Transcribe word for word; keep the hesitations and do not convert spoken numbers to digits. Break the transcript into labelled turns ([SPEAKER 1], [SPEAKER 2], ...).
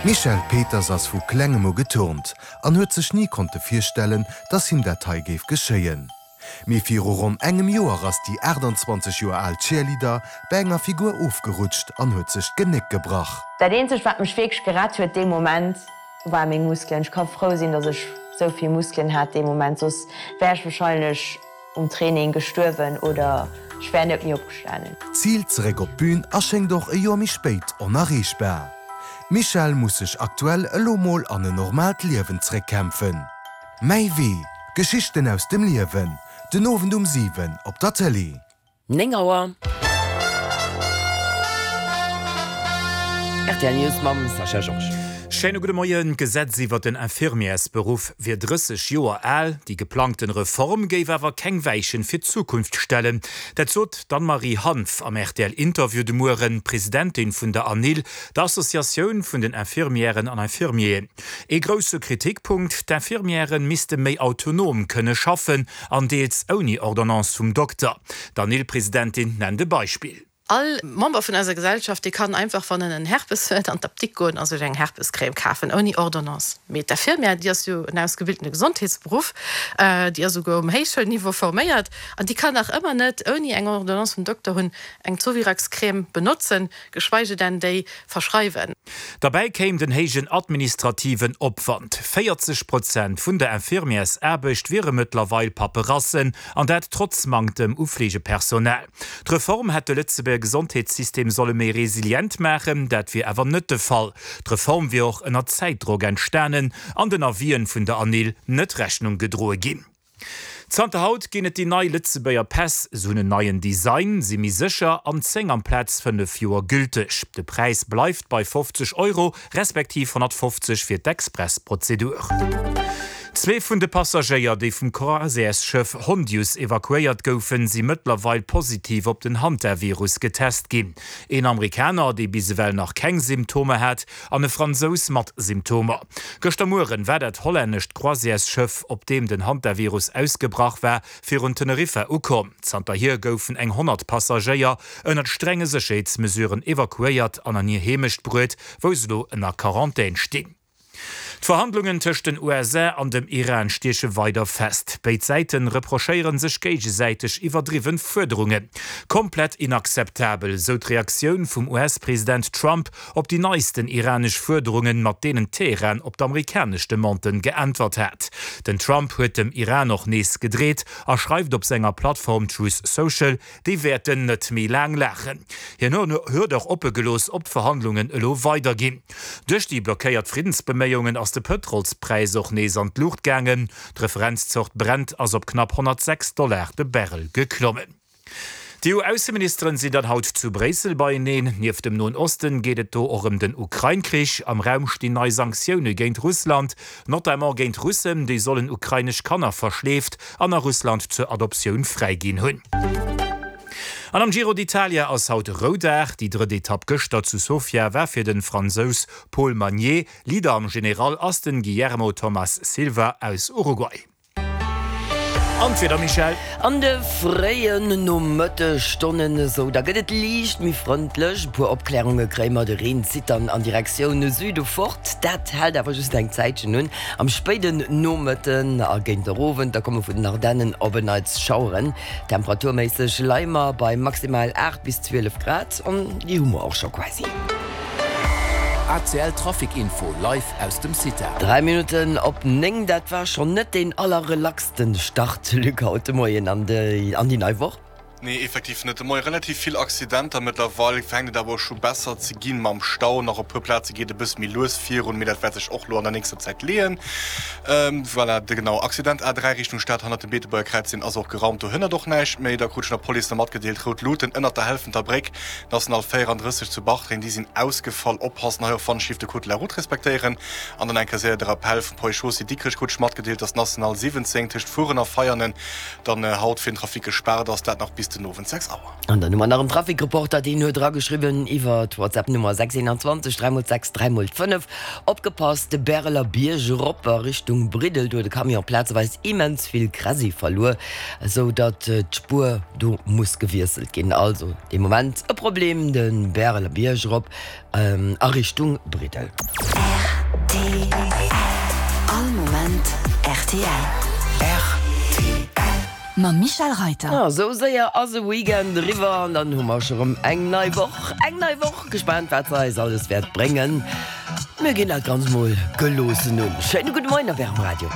[SPEAKER 1] D'Michèle Peters ass vu klengem u geturnt an huet sech ni konnte virstellen, dass him dat hei géif geschéien. Mee viru ronn engem Joer ass déi aachtanzwanzeg Joer al Cheerleader bei enger Figur ofgerutscht an huet sech d'Genéck gebrach.
[SPEAKER 2] Dat eenzegt wat mech wierklech gerett huet dee Moment war meng Muskelen. Ech ka frou sinn, dass ech sou vill Muskelen hat dee Moment, soss wär ech warscheinlech um Training gestuerwen oder ech wär net méi opgestanen.
[SPEAKER 1] D'Zil zeréck op d'Bün a schéngt och e Joer méi spéit onerreechbar. D'Michèle muss sech aktuell elo mol an en normaalt Liewen zeréckkämpfen. Mäi Wee, Geschichten aus dem Liewen, den Owend um siwen op der Tëlee.
[SPEAKER 3] Néng Auer. Rtl News mam Sascha Georges.
[SPEAKER 4] Schéine gudde Moien. D'Gesetz iwwer den Infirmièresberuff wier drësseg Joer al, déi geplangten Reform géif awer keng Weichen fir d'Zukunft stellen. Dat sot d'Anne-Marie Hanff am R T L-Interview de Mueren, Presidentin vun der ANIL, der Associatioun vun den Infirmièren an Infirmieren. Ee grousse Kritikpunkt, D'Infirmièrë misste méi autonom kënne schaffen an deels ouni Ordonnance vum Dokter. D'ANIL-Presidentin nennt e Beispill.
[SPEAKER 5] All Member vun eiser Gesellschaft, dee kann einfach, wann en en Herpes huet, an d'Apdikt goen a sech eng Herpescrème kafen, ouni Ordonnance. Mee d'Infirmière, déi ass jo en ausgebildene Gesondheetsberuff, déi ass souguer um Héichschoulniveau forméiert, an déi kann nach ëmmer net, ouni eng Ordonnance vum Dokter hunn, eng Zovirax-Crème benotzen, geschweige denn déi verschreiwen.
[SPEAKER 4] Derbäi kéim den héijen administrativen Opwand. véierzeg Prozent vun der Infirmièrsaarbecht wiere mëttlerweil Paperassen, an dat trotz Manktem u Fleegepersonal. D'Reform hätt de Lëtzebuerger Gesondheetssystem solle méi resilient maachen, dat wier awer net de Fall. D'Reform wier och ënner Zäitdrock entstanen an den Avisen vun der ANIL net Rechnung gedroe ginn. Zanter haut ginn et déi nei Lëtzebuerger Päss, se hunn en neien Design, si méi sécher an zéng amplaz fënnef Joer gülteg. De Präis bleift bei fofzeg Euro, respektiv honnertfofzeg fir d'Expressprozedur. Zwee vun de Passagéier, déi vum Croisièresschëff Hondius evakuéiert goufen, si mëttlerweil positiv op den Hantavirus getest ginn. Een Amerikaner, dee bis ewell nach keng Symptomer hat, an e Fransous mat Symptomer. Gëschter Mueren war dat hollännescht Croisièresschëff, op deem den Hantavirus ausgebrach war, virun Teneriffa ukomm. Zanterhier goufen eng honnert Passagéier ënnert strenge Sécherheetsmesuren evakuéiert an an hir Heemecht bruet, wou se elo ënner Quarantän stinn. D'Verhandlungen tëscht den U S A an dem Iran stieche weider fest. Béid Säite reprochéiere sech géigesäiteg iwwerdriwwe Fuerderungen. Komplett inakzeptabel, sou d'Reaktioun vum U S-President Trump op déi neisten iranesch Fuerderungen, mat deenen Teheran op d'amerikanesch Demanden geäntwert hat. Den Trump huet dem Iran och nees gedreet a schreift op senger Plattform Truth Social, déi wäerten net méi laang laachen. Hien huet och oppe gelooss, ob d'Verhandlungen elo weiderginn. Duerch déi blockéiert Friddensbeméiungen ass de Pëtrolspräis och nees an d'Luucht gaangen. D'Referenzzort Brent ass op knapp honnertsechs Dollar de Barrel geklommen. D'E U-Ausseministeren sinn dann haut zu Bréissel beieneen. Nieft dem Noen Osten geet et do och ëm den Ukrain-Krich. Am Raum stinn nei Sanktioune géint Russland, notamment géint Russen, déi sollen ukrainesch Kanner verschleeft an a Russland zur Adoptioun fräiginn hunn. An am Giro d'Italia ass haut Roudag. Déi drëtt Etapp gëschter zu Sofia war fir de Fransous Paul Magnier. Leader am General ass den Guillermo Thomas Silva aus Uruguay. An d'Wieder, Michèle.
[SPEAKER 3] An de fréien Nomëttestonnen esou, da gëtt et liicht méi frëndlech. E puer Opklärunge kréie mer, de Reen zitt dann an Direktioun Süde fort. Dat hält awer just eng Zäitchen un. Am spéiden Nomëtten a géint den Owend, da komme vun den Ardennen op en Neits Schaueren. Temperaturméisseg leie mer bei maximal aacht bis zwielef Grad an déi hu mer och scho quasi.
[SPEAKER 6] A C L Trafic Info live aus dem CITA.
[SPEAKER 3] Dräi Minutten op néng, dat war schonn net deen allerrelaxten Start, Luc, haut de Moien an déi an déi nei Woch.
[SPEAKER 7] Nee, effektiv net. De Moie relativ vill Accidenter. Mëttlerweil fänkt et awer och scho besser ze ginn mam Stau. Nach e puer Plaze geet e bësse méi lues virun, mee dat wäert sech och lo an der nächster Zäit leeën. Voilà, de genau Accident A dräi Richtung Stad hannert dem Beetebuerger Kräiz, deen ass och geraumt, do hënnert och näischt méi. Da krut ech nach d'Police nach matgedeelt, rout Luuten ënnert der Helfenter Bréck, National véierandrësseg zu Bartreng, déi sinn ausgefall. Oppassen hei och wann Schiff de Code de la Route respektéieren. An dann eng Kéier séier de Rappel vum Poi Chaussée Dikrech krut ech matgedeelt, dass d'National siwwenzéng tëscht Furen a Veianen dann haut fir den Trafic gespaart ass, dat nach bis den Owend sechs Auer.
[SPEAKER 3] An dann hu mer nach en Trafikreporter, deen huet erageschriwwen iwwer d'WhatsApp-Nummer sechs eenanzwanzeg dräi mol sechs dräi mol fënnef, Opgepasst, de Bäreler Bierg erop a Richtung Briddel, do huet e Camion plazeweis immens vill Kräsi verluer, esou datt d'Spuer do muss gewiesselt ginn. Also de Moment e Problem, de Bäreler Bierg erop a Richtung Briddel.
[SPEAKER 8] Rtl All Moment rtl.
[SPEAKER 3] Rtl. Mam Michel Reiter. Ah, sou séier ass e Weekend eriwwer an dann hu mer scho rëm eng nei Woch. Eng nei Woch, gespaant wat se eis alles wäert bréngen. Mir ginn dat Ganzt mol geloossen un. Schéine gudde Moien op Ärem Radio.